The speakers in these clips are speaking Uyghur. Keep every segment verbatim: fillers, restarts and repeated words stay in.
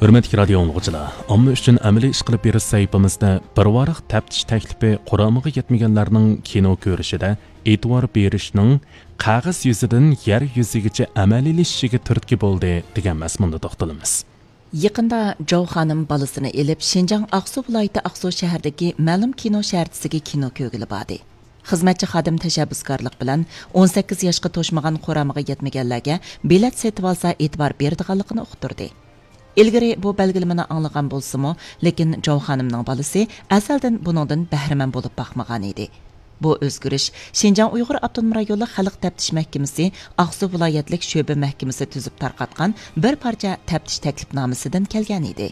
ھۆرمەتلىك رادىيو ئاڭلىغۇچىلار، ئامما ئۈچۈن ئەمەلىي ئىش قىلىپ بېرىش سەھىپىمىزدە بىر ۋاراق تەپتىش تەكلىپى قۇرامىغا يەتمىگەنلەرنىڭ كىنو كۆرۈشىدە ئېتىبار بېرىشنىڭ قەغەز يۈزىدىن يەر يۈزىگىچە ئەمەلىيلىشىشىگە تۈرتكە بولدى دېگەن مەزمۇندا توختىلىمىز. يېقىندا جاۋ خانىم بالىسىنى ئېلىپ، شىنجاڭ ئاقسۇ ۋىلايىتى ئاقسۇ شەھىرىدىكى مەلۇم كىنو شەھەرچىسىگە كىنو كۆرگىلى باردى. خىزمەتچى خادىم تەشەببۇسكارلىق بىلەن ئون سەككىز ياشقا توشمىغان قۇرامىغا يەتمىگەنلەرگە بېلەت سېتىۋالسا ئېتىبار بېرىدىغانلىقىنى ئۇقتۇردى. ئىلگىرى بۇ بەلگىلىمىنى ئاڭلىغان بولسىمۇ، لېكىن جاۋ خانىمنىڭ بالىسى ئەزەلدىن بۇنىڭدىن بەھرىمەن بولۇپ باقمىغانىدى. بۇ ئۆزگىرىش شىنجاڭ ئۇيغۇر ئاپتونوم رايونلۇق خەلق تەپتىش مەھكىمىسى ئاقسۇ ۋىلايەتلىك شۆبە مەھكىمىسى تۈزۈپ تارقاتقان بىر پارچە تەپتىش تەكلىپنامىسىدىن كەلگەنىدى.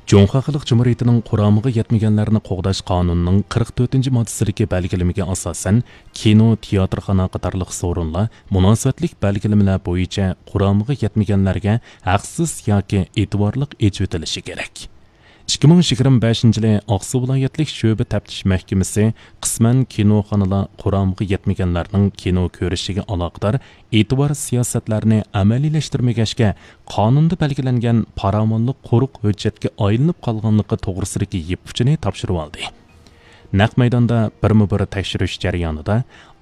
جۇڭخۇا خەلق جۇمھۇرىيىتىنىڭ قۇرامىغا يەتمىگەنلەرنى قوغداش قانۇنىنىڭ قىرىق تۆتىنچى ماددىسىدىكى بەلگىلىمىگە ئاساسەن، كىنو، تىياتىرخانا قاتارلىق سورۇنلار مۇناسىۋەتلىك بەلگىلىمىلەر بويىچە قۇرامىغا يەتمىگەنلەرگە ھەقسىز ياكى ئېتىبارلىق ئېچىۋېتىلىشى كېرەك. ئىككى مىڭ يىگىرمە بەشىنچى يىلى ئاقسۇ ۋىلايەتلىك شۆبە تەپتىش مەھكىمىسى قىسمەن كىنوخانىلار قۇرامىغا يەتمىگەنلەرنىڭ كىنو كۆرۈشىگە ئالاقىدار ئېتىبار سىياسەتلەرنى ئەمەلىيلەشتۈرمىگەچكە، قانۇندا بەلگىلەنگەن پاراۋانلىق قۇرۇق ھۆججەتكە ئايلىنىپ قالغانلىقى توغرىسىدىكى يىپ ئۇچىنى تاپشۇرۇۋالدى. نەق مەيداندا بىرمۇ بىر تەكشۈرۈش جەريانىدا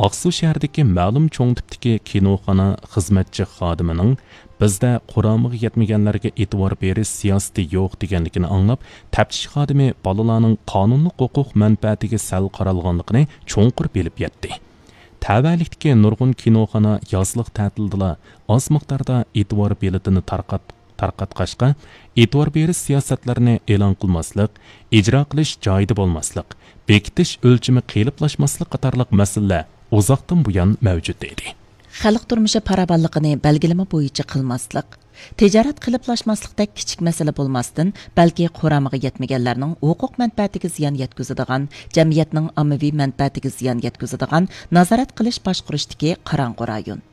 ئاقسۇ شەھىرىدىكى مەلۇم چوڭ تىپتىكى كىنوخانا خىزمەتچى خادىمىنىڭ بىزدە قۇرامىغا يەتمىگەنلەرگە ئېتىبار بېرىش سىياسىتى يوق دېگەنلىكىنى ئاڭلاپ، تەپتىش خادىمى بالىلارنىڭ قانۇنلۇق ھوقۇق مەنپەئەتىگە سەل قارالغانلىقىنى چوڭقۇر بىلىپ يەتتى. تەۋەلىكتىكى نۇرغۇن كىنوخانا يازلىق تەتىلدىلا ئاز مىقداردا ئېتىبار بېلىتىنى تارقات-، تارقاتقاچقا، ئېتىبار بېرىش سىياسەتلىرىنى ئېلان قىلماسلىق، ئىجرا قىلىش جايىدا بولماسلىق، بېكىتىش ئۆلچىمى قېلىپلاشماسلىق قاتارلىق مەسىلىلەر ئۇزاقتىن بۇيان مەۋجۇت ئىدى. خەلق تۇرمۇشى پاراۋانلىقىنى بەلگىلىمە بويىچە قىلماسلىق، تىجارەت قېلىپلاشماسلىقتەك كىچىك مەسىلە بولماستىن، بەلكى قۇرامىغا يەتمىگەنلەرنىڭ ھوقۇق مەنپەئەتىگە زىيان يەتكۈزىدىغان، جەمئىيەتنىڭ ئاممىۋى مەنپەئەتىگە زىيان يەتكۈزىدىغان نازارەت قىلىش باشقۇرۇشتىكى قاراڭغۇ رايون.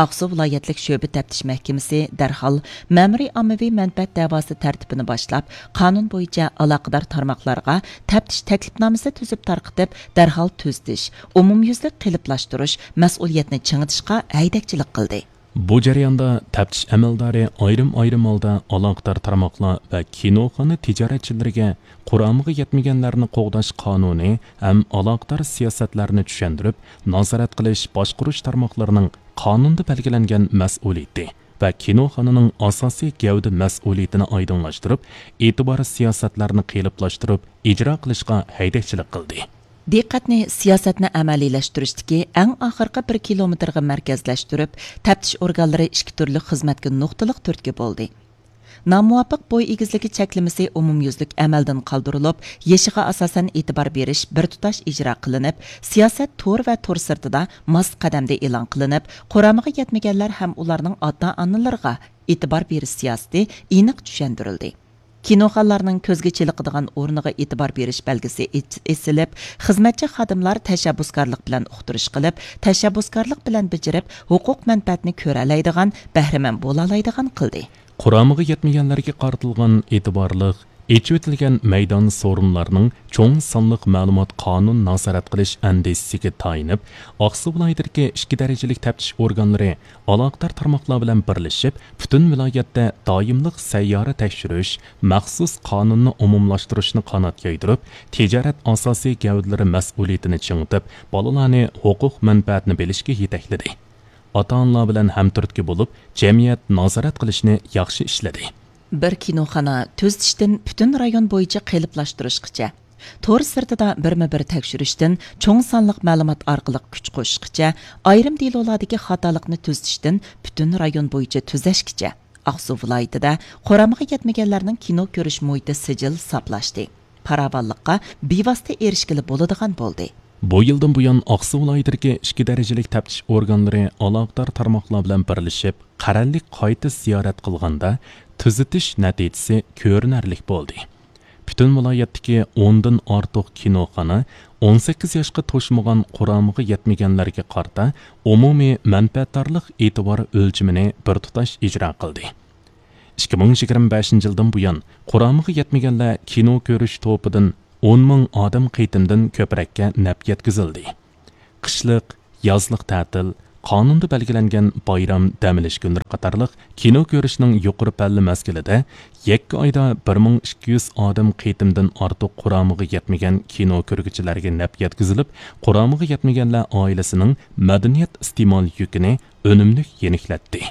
ئاقسۇ ۋىلايەتلىك شۆبە تەپتىش مەھكىمىسى دەرھال مەمۇرىي ئاممىۋى مەنپەئەت دەۋاسى تەرتىپىنى باشلاپ، قانۇن بويىچە ئالاقىدار تارماقلارغا تەپتىش تەكلىپنامىسى تۈزۈپ تارقىتىپ، دەرھال تۈزىتىش، ئومۇميۈزلۈك قېلىپلاشتۇرۇش، مەسئۇلىيەتنى چىڭىتىشقا ھەيدەكچىلىك قىلدى. بۇ جەرياندا تەپتىش ئەمەلدارى ئايرىم-ئايرىم ھالدا ئالاقىدار تارماقلار ۋە كىنوخانا تىجارەتچىلىرىگە قۇرامىغا يەتمىگەنلەرنى قوغداش قانۇنى ھەم ئالاقىدار سىياسەتلەرنى چۈشەندۈرۈپ، نازارەت قىلىش، باشقۇرۇش تارماقلىرىنىڭ قانۇندا بەلگىلەنگەن مەسئۇلىيىتى ۋە كىنوخانىنىڭ ئاساسىي گەۋدە مەسئۇلىيىتىنى ئايدىڭلاشتۇرۇپ، ئېتىبار سىياسەتلەرنى قېلىپلاشتۇرۇپ ئىجرا قىلىشقا ھەيدەكچىلىك قىلدى. دىققەتنى سىياسەتنى ئەمەلىيلەشتۈرۈشتىكى ئەڭ ئاخىرقى بىر كىلومېتىرغا مەركەزلەشتۈرۈپ، تەپتىش ئورگانلىرى ئىككى تۈرلۈك خىزمەتكە نۇقتىلىق تۈرتكە بولدى. نامۇۋاپىق بوي ئېگىزلىكى چەكلىمىسى ئومۇميۈزلۈك ئەمەلدىن قالدۇرۇلۇپ، يېشىغا ئاساسەن ئېتىبار بېرىش بىر تۇتاش ئىجرا قىلىنىپ، سىياسەت تور ۋە تور سىرتىدا ماس قەدەمدە ئېلان قىلىنىپ، قۇرامىغا يەتمىگەنلەر ھەم ئۇلارنىڭ ئاتا-ئانىلىرىغا ئېتىبار بېرىش سىياسىتى ئېنىق چۈشەندۈرۈلدى. كىنوخانىلارنىڭ كۆزگە چېلىقىدىغان ئورنىغا ئېتىبار بېرىش بەلگىسى ئېچ-، ئېسىلىپ، خىزمەتچى خادىملار تەشەببۇسكارلىق بىلەن ئۇقتۇرۇش قىلىپ، تەشەببۇسكارلىق بىلەن بېجىرىپ، ھوقۇق مەنپەئەتنى كۆرەلەيدىغان، بەھرىمەن بولالايدىغان قىلدى. قۇرامىغا يەتمىگەنلەرگە قارىتىلغان ئېتىبارلىق، ئېچىۋېتىلگەن مەيدان سورۇنلارنىڭ چوڭ سانلىق مەلۇمات قانۇن نازارەت قىلىش ئەندىزىسىگە تايىنىپ، ئاقسۇ ۋىلايىتىدىكى ئىككى دەرىجىلىك تەپتىش ئورگانلىرى ئالاقىدار تارماقلار بىلەن بىرلىشىپ، پۈتۈن ۋىلايەتتە دائىملىق سەييارە تەكشۈرۈش مەخسۇس قانۇنىنى ئومۇملاشتۇرۇشنى قانات يايدۇرۇپ، تىجارەت ئاساسىي گەۋدىلىرى مەسئۇلىيىتىنى چىڭىتىپ، بالىلارنى ھوقۇق مەنپەئەتنى بىلىشكە يېتەكلىدى. ئاتا-ئانىلار بىلەن ھەمتۈرتكە بولۇپ، جەمئىيەت نازارەت قىلىشنى ياخشى ئىشلىدى. بىر كىنوخانا تۈزىتىشتىن پۈتۈن رايون بويىچە قېلىپلاشتۇرۇشقىچە، تور سىرتىدا بىرمۇ بىر تەكشۈرۈشتىن چوڭ سانلىق مەلۇمات ئارقىلىق كۈچ قوشۇشقىچە، ئايرىم دېلولاردىكى خاتالىقنى تۈزىتىشتىن پۈتۈن رايون بويىچە تۈزەشكىچە، ئاقسۇ ۋىلايىتىدە قۇرامىغا يەتمىگەنلەرنىڭ كىنو كۆرۈش مۇھىتى سىجىل ساپلاشتى. پاراۋانلىققا بىۋاسىتە ئېرىشكىلى بولىدىغان بولدى. بۇ يىلدىن بۇيان، ئاقسۇ ۋىلايىتىدىكى ئىككى دەرىجىلىك تەپتىش ئورگانلىرى ئالاقىدار تارماقلار بىلەن بىرلىشىپ، قەرەللىك قايتا زىيارەت قىلغاندا، تۈزىتىش نەتىجىسى كۆرۈنەرلىك بولدى. پۈتۈن ۋىلايەتتىكى ئوندىن ئارتۇق كىنوخانا ئون سەككىز ياشقا توشمىغان قۇرامىغا يەتمىگەنلەرگە قارىتا ئومۇمىي مەنپەئەتدارلىق ئېتىبار ئۆلچىمىنى بىر تۇتاش ئىجرا قىلدى. ئىككى مىڭ يىگىرمە بەشىنچى يىلدىن بۇيان، قۇرامىغا يەتمىگەنلەر كىنو كۆرۈش توپىدىن ئون مىڭ ئادەم قېتىمدىن كۆپرەككە نەپ يەتكۈزۈلدى. قىشلىق، يازلىق تەتىل، قانۇندا بەلگىلەنگەن بايرام، دەم ئېلىش كۈنلىرى قاتارلىق كىنو كۆرۈشنىڭ يۇقىرى پەللە مەزگىلىدە يەككە ئايدا بىر مىڭ ئىككى يۈز ئادەم قېتىمدىن ئارتۇق قۇرامىغا يەتمىگەن كىنو كۆرگۈچىلەرگە نەپ يەتكۈزۈلۈپ، قۇرامىغا يەتمىگەنلەر ئائىلىسىنىڭ مەدەنىيەت ئىستېمال يۈكىنى ئۈنۈملۈك يېنىكلەتتى.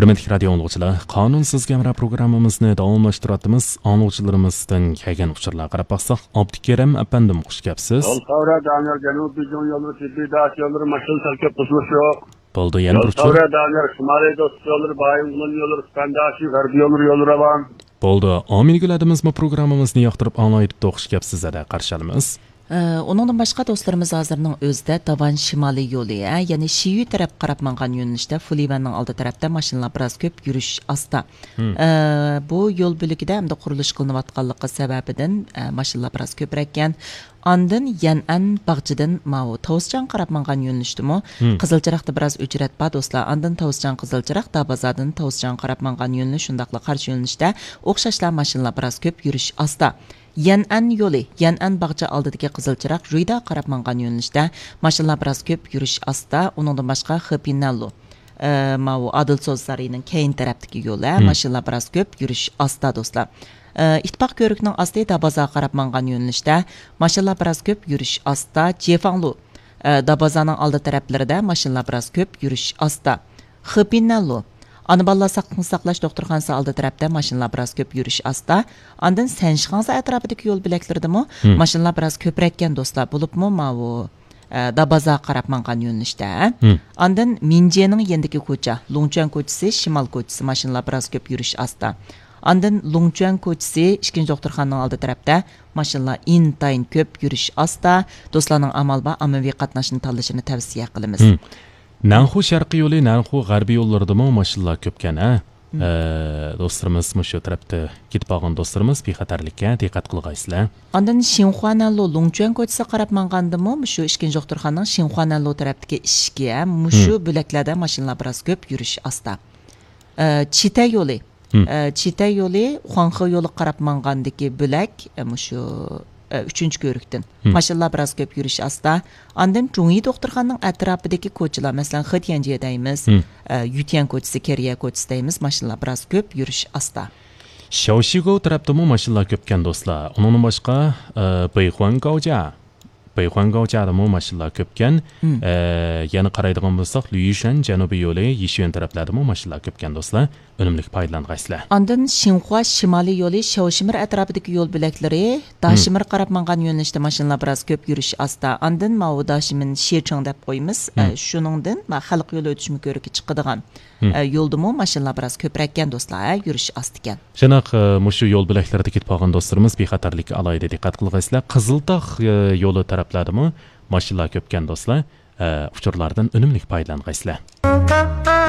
ھۆرمەتلىك رادىيو ئاڭلىغۇچىلار، قانۇن سىزگە ھەمراھ پروگراممىمىزنى داۋاملاشتۇرۇۋاتىمىز. ئاڭلىغۇچىلىرىمىزدىن كەلگەن ئۇچۇرلارغا قاراپ باقساق، ئابدۇكېرىم ئەپەندىم، خۇش كەپسىز. يول ساۋرا دانىيال، جەنۇبىي بېيجىڭ يوللىرى، تېببىي داش يوللىرى، ماشىنا سەل كۆپ، بۇزۇلۇش يوق. بولدى، يەنە يول بىر ئۇچۇر. ساۋرا دانىيال، شىمالىي دوست يوللىرى، بايىنغولىن يوللىرى، سۇپەنداشى، غەربىي يوللىرى، يولى راۋان. بولدى، ئامىلگۈل ھەدىمىزمۇ پروگراممىمىزنى ياقتۇرۇپ ئاڭلايدۇ، خۇش كەپسىز، ھەدە قارشى ئالىمىز. ئە، ئۇنىڭدىن باشقا دوستلىرىمىز ھازىرنىڭ ئۆزىدە داۋان شىمالىي يولى، ئە، يەنى شىيۈ تەرەپ قاراپ ماڭغان يۆنىلىشتە فۇلىۋەننىڭ ئالدى تەرەپتە ماشىنىلار بىراز كۆپ، يۈرۈش ئاستا. مم. ئە، بۇ يول بۆلىكىدە ئەمدى قۇرۇلۇش قىلىنىۋاتقانلىقى سەۋەبىدىن، ئە، ماشىنىلار بىراز كۆپرەككەن. ئاندىن يەنئەن باغچىدىن ماۋۇ تاۋۇزجانغا قاراپ ماڭغان يۆنىلىشتىمۇ مم. قىزىل چىراغدا بىراز ئۆچرەت بار دوستلار. ئاندىن تاۋۇزجان قىزىل چىراغ، دابازادىن تاۋۇزجانغا قاراپ ماڭغان يۆنىلىش، شۇنداقلا قارشى يۆنىلىشتە ئوخشاشلا ماشىنىلار بىراز كۆپ، يۈرۈش ئاستا. يەنئەن يولى، يەنئەن باغچە ئالدىدىكى قىزىل چىراغ، رۇيدا قاراپ ماڭغان يۆنىلىشتە ماشىنىلار بىراز كۆپ، يۈرۈش ئاستا. ئۇنىڭدىن باشقا، خېپىنەنلۇ، ئە، ماۋۇ ئادىل سودا سارىيىنىڭ كەينى تەرەپتىكى يول، ھە، مم. ماشىنىلار بىراز كۆپ، يۈرۈش ئاستا، دوستلار. ئە، ئىتتىپاق كۆۋرۈكىنىڭ ئاستى دابازا قاراپ ماڭغان يۆنىلىشتە ماشىنىلار بىراز كۆپ، يۈرۈش ئاستا. جيېفاڭلۇ، ئە، دابازانىڭ ئالدى تەرەپلىرىدە ماشىنىلار بىراز كۆپ، يۈرۈش ئاستا. خېپىنەنلۇ، ئانا بالىلار ساقلىقنى ساقلاش دوختۇرخانىسى ئالدى تەرەپتە ماشىنىلار بىراز كۆپ، يۈرۈش ئاستا. ئاندىن سەنشىخاڭزا ئەتراپىدىكى يول بۆلەكلىرىدىمۇ مم. ماشىنىلار بىراز كۆپرەككەن دوستلار، بولۇپمۇ ماۋۇ، ئە، دابازاغا قاراپ ماڭغان يۆنىلىشتە. مم. ئاندىن مىنجيېنىڭ يېنىدىكى كوچا، لۇڭچۈەن كوچىسى، شىمال كوچىسى ماشىنىلار بىراز كۆپ، يۈرۈش ئاستا. ئاندىن لۇڭچۈەن كوچىسى، ئىككىنچى دوختۇرخانىنىڭ ئالدى تەرەپتە ماشىنىلار ئىنتايىن كۆپ، يۈرۈش ئاستا. دوستلارنىڭ ئامال بار ئاممىۋى قاتناشنى تاللىشىنى تەۋسىيە قىلىمىز. مم. نەنخۇ شەرقىي يولى، نەنخۇ غەربىي يوللىرىدىمۇ ماشىنىلار كۆپكەن، ھە؟ مم. ئە، دوستلىرىمىز مۇشۇ تەرەپتە كېتىپ بارغان دوستلىرىمىز بىخەتەرلىككە دىققەت قىلغايسىلەر. ئاندىن شىنخۇانەنلۇ لۇڭچۈەن كوچىسىغا قاراپ ماڭغاندىمۇ، مۇشۇ ئىككىنچى دوختۇرخانىنىڭ شىنخۇانەنلۇ تەرەپتىكى ئىشىكى، ھە، مۇشۇ مم. بۆلەكلەردە ماشىنىلار بىراز كۆپ، يۈرۈش ئاستا. ئە، چىتە يولى. مم. ئە، چىتە يولى، خۇاڭخې يولىغا قاراپ ماڭغاندىكى بۆلەك، ئە، مۇشۇ، ئە، ئۈچىنچى كۆۋرۈكتىن. مم. ماشىنىلار بىراز كۆپ، يۈرۈش ئاستا. ئاندىن جۇڭيى دوختۇرخانىنىڭ ئەتراپىدىكى كوچىلار، مەسىلەن، خېتيەنجيې دەيمىز، مم. ئە، يۈتيەن كوچىسى، كېرىيە كوچىسى دەيمىز، ماشىنىلار بىراز كۆپ، يۈرۈش ئاستا. شياۋشىگو تەرەپتىمۇ ماشىنىلار كۆپكەن دوستلار. ئۇنىڭدىن باشقا، ئە، بېيخۇەن گاۋجيا. بېيخۇەن گاۋجيادىمۇ ماشىنىلار كۆپكەن. مم. ئە، يەنە قارايدىغان بولساق، لۈيۈشەن جەنۇبىي يولى، يىشۈەن تەرەپلەردىمۇ ماشىنىلار كۆپكەن دوستلار. ئۈنۈملۈك پايدىلانغايسىلەر. ئاندىن شىنخۇا شىمالىي يولى، شياۋشىمىر ئەتراپىدىكى يول بۆلەكلىرى، مم. داشىمىر قاراپ ماڭغان يۆنىلىشتە ماشىنىلار بىراز كۆپ، يۈرۈش ئاستا. ئاندىن ماۋۇ داشىمىن شىچېڭ دەپ قويىمىز. ئە، مم. شۇنىڭدىن ما خەلق يولى ئۆتۈشمە كۆۋرۈكى چىقىدىغان، مم. ئە، يولدىمۇ ماشىنىلار بىراز كۆپرەككەن دوستلار، ھە، يۈرۈش ئاستا ئىكەن. شۇنداق، ئە، مۇشۇ يول بۆلەكلىرىدە كېتىپ قالغان دوستلىرىمىز بىخەتەرلىككە ئالاھىدە دىققەت قىلغايسىلەر. قىزىلتاغ، ئە، يولى تەرەپلەردىمۇ ماشىنىلار كۆپكەن دوستلار. ئە، ئۇچۇرلاردىن ئۈنۈملۈك پايدىلانغايسىلەر.